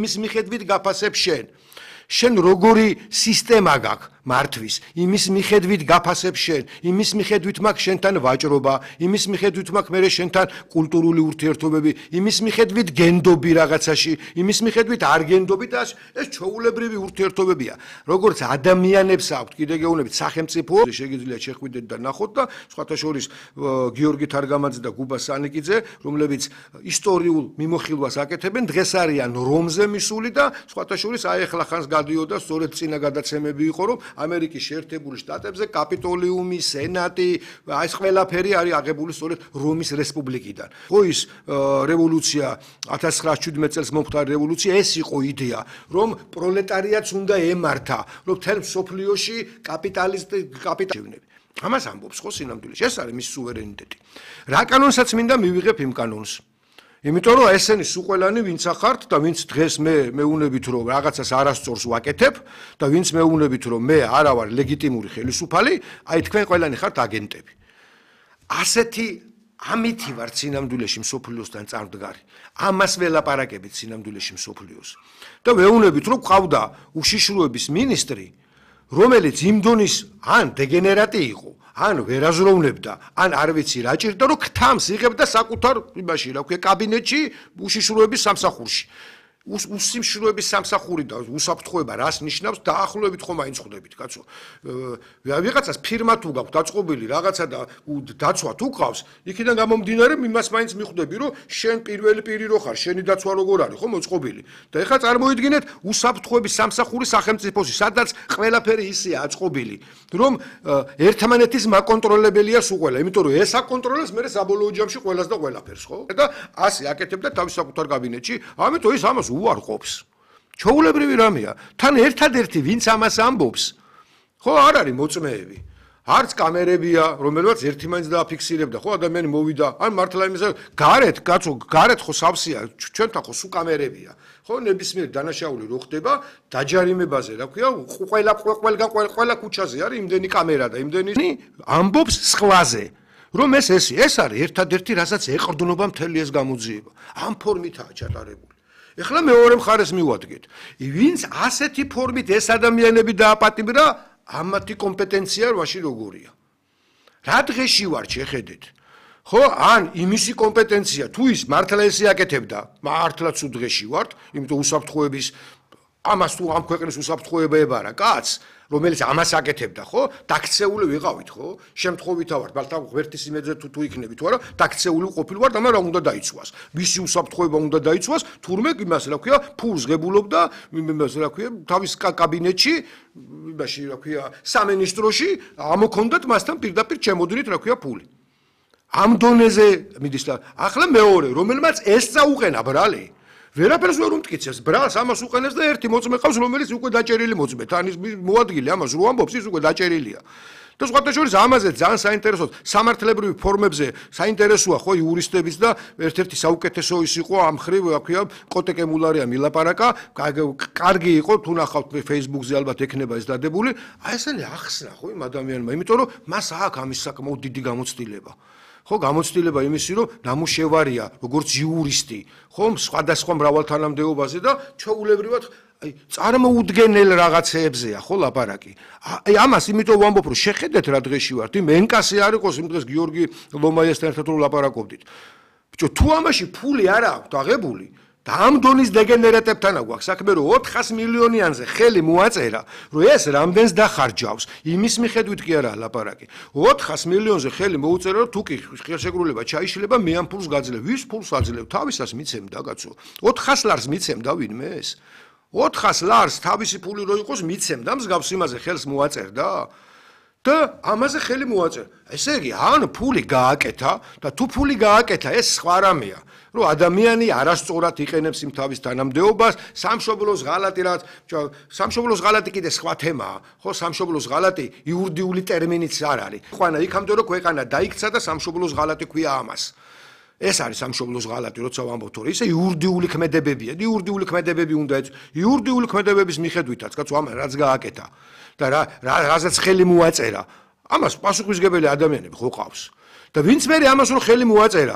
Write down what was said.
მის მიხედვით გაფასებ შენ როგორი სისტემა გაქვს მართვის იმის მიხედვით გაფასებ შენ იმის მიხედვით მაქვს შენთან ვაჭრობა იმის მიხედვით მაქვს მე შენთან კულტურული ურთიერთობები იმის მიხედვით გენდობი რაღაცაში იმის მიხედვით არ გენდობი და ეს ჩვეულებრივი ურთიერთობებია როგორც ადამიანებს აქვთ კიდე გეუბნებით სახელმწიფო შეგიძლიათ შეხვიდეთ და ნახოთ და სხვათა შორის გიორგი თარგამაძე და გუბა სანიკიძე რომლებიც ისტორიულ მიმოხილვას აკეთებენ დღეს არიან რომზე მისული და სხვათა შორის აი ახლა ხანს გადიოდა სწორედ წინა გადაცემები იყო რომ ამერიკის შეერთებული შტატებზე კაპიტოლიუმი, სენატი, ეს ყველაფერი არის აღებული სწორედ რომის რესპუბლიკიდან. ხო ის რევოლუცია 1917 წელს მომხდარი რევოლუცია ეს იყო იდეა, რომ პროლეტარიატს უნდა ემართა, რომ მთელ მსოფლიოში კაპიტალიზმი. ამას ამბობს ხო სინამდვილეში, ეს არის მის სუვერენიტეტი. რა კანონსაც მინდა მივიღებ იმ კანონს. იმიტომ რომ ესენი სუყველანი ვინც ახართ და ვინც დღეს მე მეუნებით რომ რაღაცას არასწორს ვაკეთებ და ვინც მეუნებით რომ მე არა ვარ ლეგიტიმური ხელისუფალი, აი თქვენ ყველანი ხართ აგენტები. ასეთი ამითი ვარ სინამდვილეში მსოფლიოსთან წარმდგარი. ამას ველაპარაკებით სინამდვილეში მსოფლიოს. და მეუნებით რომ ყავდა უშიშროების მინისტრი, რომელიც იმ დონის ან დეგენერატი იყო ან ვერაზროვნებდა, ან არ ვიცი რა ჭირდა, რომ ქთამს იღებდა საკუთარ იმაში, რა ქვია, კაბინეტში უშიშროების სამსახურში. უსიმშროების სამსახური და უსაფრთხოება რას ნიშნავს? დაახლოებით ხომ მაინც ხვდებით, კაცო. ვიღაცას ფირმა თუ გაქვს დაწყობილი რაღაცა და დაცვა თუ ყავს, იქიდან გამომდინარე იმას მაინც მიხვდები, რომ შენ პირველი პირი რო ხარ, შენი დაცვა როგორ არის, ხო მოწყობილი. და ეხლა წარმოიდგინეთ უსაფრთხოების სამსახური სახელმწიფოში, სადაც ყველაფერი ისეა აწყობილი, რომ ერთმანეთის მაკონტროლებელია სულ ყველა, იმიტომ რომ ეს აკონტროლებს მე საბოლოო ჯამში ყველას და ყველაფერს, ხო? და ასე აკეთებდა თავის საკუთარ კაბინეტში, ამიტომ ის ამას უარყოფს. ჩვეულებრივი რამეა. თან ერთადერთი ვინც ამას ამბობს, ხო არ არის მოწმეები. არც კამერებია, რომელსაც ერთი მაინც დააფიქსირებდა, ხო ადამიანი მოვიდა, ან მართლა იმისა, გარეთ, კაცო, გარეთ ხო სავსეა, ჩვენთან ხო სულ კამერებია. ხო ნებისმიერ დანაშაული რო ხდება, დაჯარიმებაზე, რა ქვია, ყველა ქუჩაზე არის იმდენი კამერა და იმდენი ამბობს სხვაზე. რომ ეს არის ერთადერთი, რასაც ეყრდნობა მთელი ეს გამოძიება. ამ ფორმითაა ჩატარებული. ეხლა მეორე მხარეს მივადგეთ. ვინც ასეთი ფორმით ეს ადამიანები დააპატიმრა, ამათი კომპეტენცია რაში როგორია. რა დღეში ვარ შეხედეთ. ხო, ან იმისი კომპეტენცია თუ ის მართლა ესე აკეთებდა, მართლა თუ დღეში ვართ, იმიტომ უსაფრთხოების ამას თუ ამ ქვეყნის უსაფრთხოება ებარა კაცს, რომელიც ამას აკეთებდა, ხო? დაქცეული ვიყავით, ხო? შემთხვევითა ვარ, ბალთა ღმერთის იმედზე თუ იქნები თუ არა, დაქცეული ყოფილვარ და მაგრამ რა უნდა დაიცვას. მისი უსაფრთხოება უნდა დაიცვას, თურმე იმას, რა ქვია, ფულს ღებულობდა, იმას, რა ქვია, თავის კაბინეტში, იმაში, რა ქვია, სამინისტროში, ამოქონდათ მასთან პირდაპირ ჩემოდნით, რა ქვია, ფული. ამ დონეზე მიდის და ახლა მეორე, რომელმაც ეს წაუყენა ბრალი ვერაფერს ვერ უმტკიცებს, ბრალს ამას უყენებს და ერთი მოწმე ყავს, რომელიც უკვე დაჭერილი მოწმე, თან ის მოადგილე ამას რო ამბობს, ის უკვე დაჭერილია. და სხვათა შორის ამაზე ძალიან საინტერესოა, სამართლებრივი ფორმებზე საინტერესოა ხო იურისტების და ერთ-ერთი საუკეთესო ის იყო ამ ხრივ, რა ქვია, კოტეკე მულარია მილაპარაკა, კარგი იყო, თუ ნახავთ Facebook-ზე ალბათ ექნება ეს დადებული, აი ესენი ახსნა ხო იმ ადამიანმა, იმიტომ რომ მას აქვს ამის საკმაოდ დიდი გამოცდილება. ხო გამოცდილება იმისი რომ ნამუშევარია როგორც იურისტი ხო სხვადასხვა მრავალთანამდებობაზე და ჩვეულებრივად აი წარმოუდგენელ რაღაცეებზეა ხო ლაპარაკი აი ამას იმიტომ ვამბობ რომ შეხედეთ რა დღეში ვართ იმ ენკასე არ იყოს იმ დღეს გიორგი ლომაიასთან ერთად რომ ლაპარაკობდით ბიჭო თუ ამაში ფული არ აქვს აღებული და ამ დონის დეგენერატებთან აქვს საქმე რომ 400 მილიონიანზე ხელი მოაწერა რომ ეს რამდენს დახარჯავს იმის მიხედვით კი არა ლაპარაკი 400 მილიონზე ხელი მოუწერა რომ თუ კი ხელშეკრულება ჩაიშლება მე ამ ფულს გაძლევ ვის ფულს აძლევ თავისას მიცემდა კაცო 400 ლარს მიცემდა ვინმე ეს 400 ლარს თავისი ფული რო იყოს მიცემდა მსგავს იმაზე ხელს მოაწერდა და ამაზე ხელი მოაწერა ესე იგი ან ფული გააკეთა და თუ ფული გააკეთა ეს სხვა რამეა რომ ადამიანი არასწორად იყენებს იმ თავის თანამდებობას, სამშობლოს ღალატი რაც სამშობლოს ღალატი კიდე სხვა თემაა, ხო, სამშობლოს ღალატი იურიდიული ტერმინიც არ არის. ყვანა იქამდე რომ ქვეყანა დაიქცა და სამშობლოს ღალატი ქვია ამას. ეს არის სამშობლოს ღალატი, როცა ვამბობთ, რომ ისე იურიდიული ქმედებებია, იურიდიული ქმედებები უნდა იურიდიული ქმედებების მიხედვითაც, კაცო, ამან რაც გააკეთა და რაზეც ხელი მოაწერა, ამას პასუხისმგებელი ადამიანები ხო ყავს. და ვინც მე ამას რო ხელი მოაწერა,